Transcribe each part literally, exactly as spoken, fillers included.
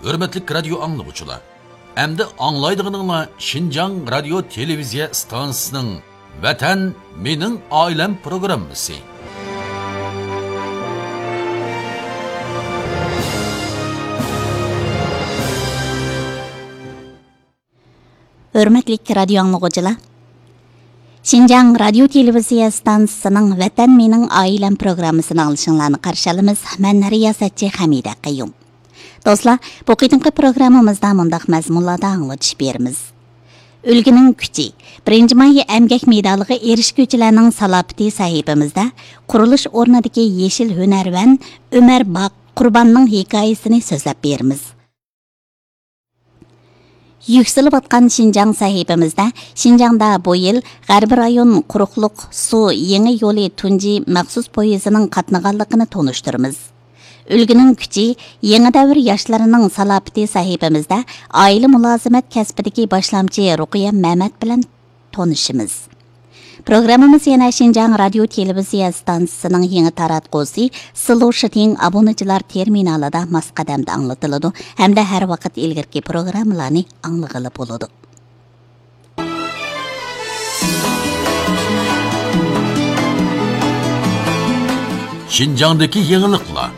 ھۆرمەتلىك رادىيو ئاڭلىغۇچىلار، ئەمدى ئاڭلايدىغىنىڭلار شىنجاڭ رادىيو تېلېۋىزىيە ئىستانسىسىنىڭ ۋەتەن مېنىڭ ئائىلەم پروگراممىسى. ھۆرمەتلىك رادىيو ئاڭلىغۇچىلار، شىنجاڭ رادىيو تېلېۋىزىيە ئىستانسىسىنىڭ ۋەتەن مېنىڭ ئائىلەم پروگراممىسىنى ئاڭلىشىڭلارنى قارشى ئالىمىز. مەن رىياسەتچى خەمىدە قەييۇم. دوستلار، بۇ قېتىمقى پروگراممىمىزدا مۇنداق مەزمۇنلاردا ئاڭلىتىش بېرىمىز. ئۈلگىنىڭ كۈچى، بىرىنچى ماي ئەمگەك مېدالىغا ئېرىشكۈچىلەرنىڭ سالاپىتى سەھىپىمىزدە قۇرۇلۇش ئورنىدىكى يېشىل ھۈنەرۋەن ئۆمەر باق قۇرباننىڭ ھېكايىسىنى سۆزلەپ بېرىمىز. يۈكسىلىۋاتقان شىنجاڭ سەھىپىمىزدە شىنجاڭدا بۇ يىل غەربىي رايون قۇرۇقلۇق سۇ يېڭى يولى تۇنجى مەخسۇس پويىزىنىڭ قاتنىغانلىقىنى تونۇشتۇرىمىز. ئۈلگىنىڭ كۈچى، يېڭى دەۋر ياشلىرىنىڭ سالاپىتى سەھىپىمىزدە ئائىلە مۇلازىمەت كەسپىدىكى باشلامچى رۇقىيە مەمەت بىلەن تونۇشىمىز. پروگراممىمىز يەنە شىنجاڭ رادىيو تېلېۋىزىيە ئىستانسىسىنىڭ يېڭى تاراتقۇسى سىلۇ شىتىڭ ئابۇنىچىلار تېرمىنالىدا ماس قەدەمدە ئاڭلىتىلىدۇ ھەمدە ھەر ۋاقىت ئىلگىرىكى پروگراممىلارنى ئاڭلىغىلى بولىدۇ. شىنجاڭدىكى يېڭىلىقلار.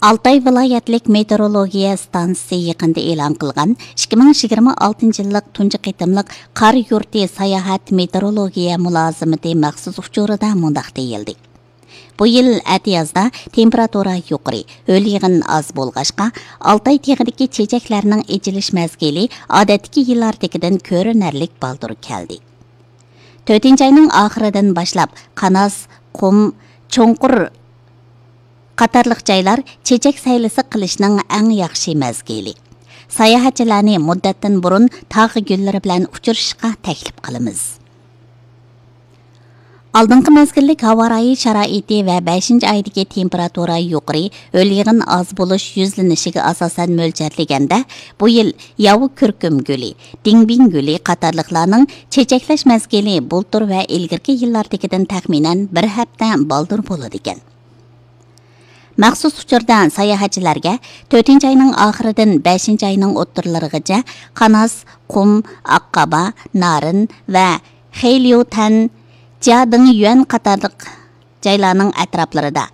ئالتاي ۋىلايەتلىك مېتېئورولوگىيە ئىستانسىسى يېقىندا ئېلان قىلغان ئىككى مىڭ يىگىرمە ئالتىنچى يىللىق تۇنجى قېتىملىق قار يۇرتى ساياھەت مېتېئورولوگىيە مۇلازىمىتى مەخسۇس ئۇچۇرىدا مۇنداق دېيىلدى: بۇ يىل ئەتىيازدا تېمپېراتۇرا يۇقىرى، ھۆل يېغىن ئاز بولغاچقا، ئالتاي تېغىدىكى چېچەكلەرنىڭ ئېچىلىش مەزگىلى ئادەتتىكى يىللاردىكىدىن كۆرۈنەرلىك بالدۇر كەلدى. تۆتىنچى ئاينىڭ ئاخىرىدىن باشلاپ قاناس، قۇم، چوڭقۇر قاتارلىق جايلار چېچەك سەيلىسى قىلىشنىڭ ئەڭ ياخشى مەزگىلى. ساياھەتچىلەرنى مۇددەتتىن بۇرۇن تاغ گۈللىرى بىلەن ئۇچرىشىشقا تەكلىپ قىلىمىز. ئالدىنقى مەزگىللىك ھاۋا رايى شارائىتى ۋە بەشىنچى ئايدىكى تېمپېراتۇرا يۇقىرى، ھۆل يېغىن ئاز بولۇش يۈزلىنىشىگە ئاساسەن مۆلچەرلىگەندە، بۇ يىل ياۋا كۈركۈم گۈلى، دىڭبىڭ گۈلى قاتارلىقلارنىڭ چېچەكلەش مەزگىلى بۇلتۇر ۋە ئىلگىرىكى يىللاردىكىدىن تەخمىنەن بىر ھەپتە بالدۇر بولىدىكەن. مەخسۇس ئۇچۇردا ساياھەتچىلەرگە تۆتىنچى ئاينىڭ ئاخىرىدىن بەشىنچى ئاينىڭ ئوتتۇرىلىرىغىچە قاناس، قۇم، ئاققابا، نارىن ۋە خېيليۇتەن، جيادىڭيۈەن قاتارلىق جايلارنىڭ ئەتراپلىرىدا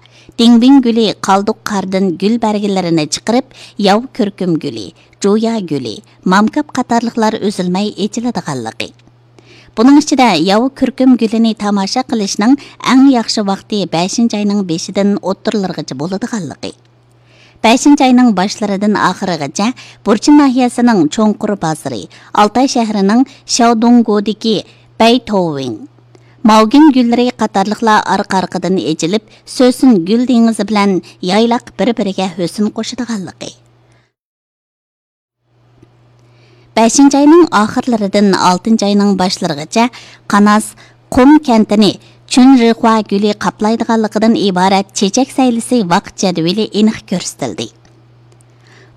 دىڭبىڭ گۈلى قالدۇق قاردىن گۈل بەرگىلىرىنى چىقىرىپ، ياۋا كۈركۈم گۈلى، جۇيا گۈلى، مامكاپ قاتارلىقلار ئۈزۈلمەي ئېچىلىدىغانلىقى. بۇنىڭ ئىچىدە ياۋا كۈركۈم گۈلىنى تاماشا قىلىشنىڭ ئەڭ ياخشى ۋاقتى بەشىنچى ئاينىڭ بېشىدىن ئوتتۇرىلىرىغىچە بولىدىغانلىقى. بەشىنچى ئاينىڭ باشلىرىدىن ئاخىرىغىچە بۇرچىن ناھىيەسىنىڭ چوڭقۇر بازىرى، ئالتاي شەھىرىنىڭ شياۋدۇڭگودىكى بەيتوۋېڭ، ماۋگىن گۈللىرى قاتارلىقلار ئارقا-ئارقىدىن ئېچىلىپ، سۆسۈن گۈل دېڭىزى بىلەن يايلاق بىر-بىرىگە ھۆسن قوشىدىغانلىقى. بەشىنچى ئاينىڭ ئاخىرلىرىدىن ئالتىنچى ئاينىڭ باشلىرىغىچە قاناس، قۇم كەنتىنى چۈنرىخۇا گۈلى قاپلايدىغانلىقىدىن ئىبارەت چېچەك سەيلىسى ۋاقىت جەدۋىلى ئېنىق كۆرسىتىلدى.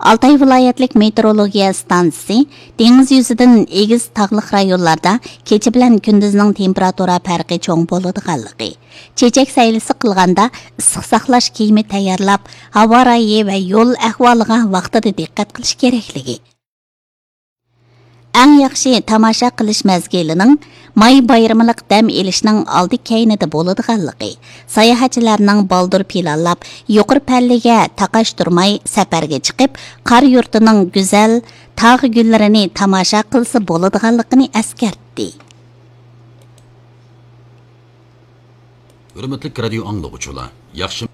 ئالتاي ۋىلايەتلىك مېتېئورولوگىيە ئىستانسىسى دېڭىز يۈزىدىن ئېگىز تاغلىق رايونلاردا كېچە بىلەن كۈندۈزنىڭ تېمپېراتۇرا پەرقى چوڭ بولىدىغانلىقى، چېچەك سەيلىسى قىلغاندا ئىسسىق ساقلاش كىيىمى تەييارلاپ، ھاۋا رايى ۋە يول ئەھۋالىغا ۋاقتىدا دىققەت قىلىش كېرەكلىكى، ئەڭ ياخشى تاماشا قىلىش مەزگىلىنىڭ ماي بايرىملىق دەم ئېلىشنىڭ ئالدى كەينىدە بولىدىغانلىقى، ساياھەتچىلەرنىڭ بالدۇر پىلانلاپ، يۇقىرى پەللىگە تاقاشتۇرماي سەپەرگە چىقىپ، قار يۇرتىنىڭ گۈزەل تاغ گۈللىرىنى تاماشا قىلسا بولىدىغانلىقىنى ئەسكەرتتى. ھۆرمەتلىك رادىيو ئاڭلىغۇچىلار، ياخشى